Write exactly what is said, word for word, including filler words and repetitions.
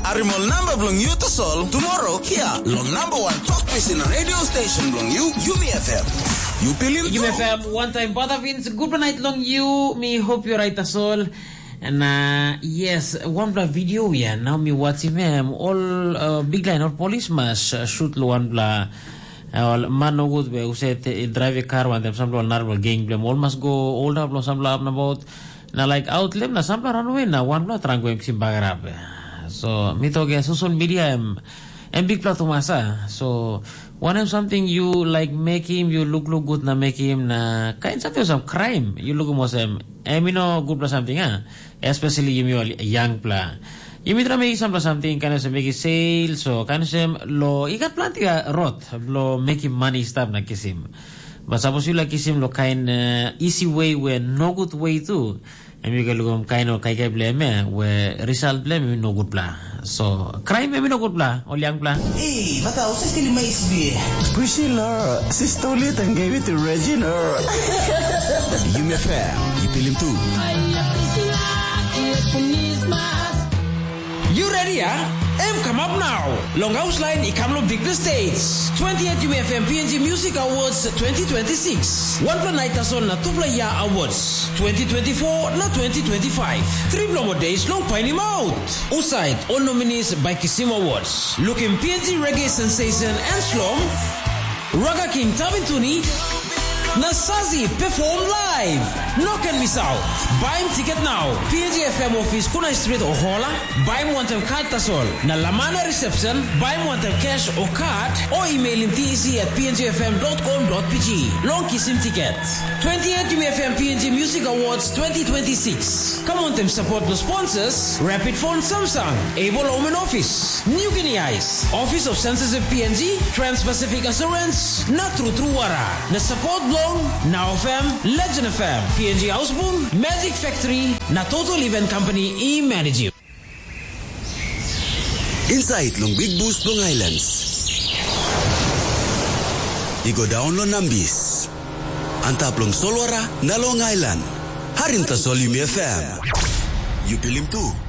Harim ol namba bilong yu tasol tomorrow hia long number one talk pisin radio station bilong yu, Yumi F M. Yu pilim Yumi tu? F M, one time Bada Vince, good night long you. Mi hope you're right tasol. Na yes, wanpela video ya, nau mi watchim em, ol uh, big line, ol polis mas uh, shoot lo wanpela uh, ol man nogut be uset drive a car wantaim sampela ol narapela geng bilem, ol mas go olda bilong sampela ap nabaut, na like out lem na sampela runway na wanpela trang go em kisim bagarap. So mi tok ya, social media em em bikpela tumas a. So wanem something you like mekim, you lukluk gut na mekim, na kain something olsem crime you lukim olsem em i no gutpela something a, especially yumi ol yangpela. Yumi try mekim sampela something kain olsem mekim sale, so kain olsem lo i gat planti rot lo mekim mani i stap na kisim. But sapos yu laik kisim lo kain uh, easy way we no good way tu, em yu ken lukim kain o kaikai bilem ya, we result bilem i no gutpela. So crime em i no gutpela, ol yangpela. Ei, bata, usai stili mais bie. Priscilla, sister Lita gave it to Regina. Yumi F M, yu pilim tu. You ready, ah? Em come up now. Long house line i come long big stage. twenty-eight U F M P N G Music Awards twenty twenty-six. One pla night tasol na two pla year awards. twenty twenty-four na twenty twenty-five. Three pla more days long painim out. Usait, all nominees by Kisim Awards. Looking P N G reggae sensation and slom. Raga King Tavintuni na Sazi perform live. No can miss out. Baim ticket now. P N G F M office Kunai Street o Hola. Baim wantaim card tasol. Na Lamana reception, baim wantaim cash o card o emailim T E C at P N G F M dot com dot P G. Long kisim ticket. twenty-eight U F M P N G Music Awards twenty twenty-six. Come wantaim support the sponsors, Rapid Phone Samsung, Able Home and Office, New Guinea Ice, Office of Censorship P N G, Trans-Pacific Assurance, na True True Wara. Na support long Now F M, Legend F M, P N G Ausbun, Magic Factory, na Total Event Company i manage. Inside long Big Bus long Islands. I go down long Nambis. Antap long Solwara na long Island. Harim tasol Yumi F M. You pilim tu.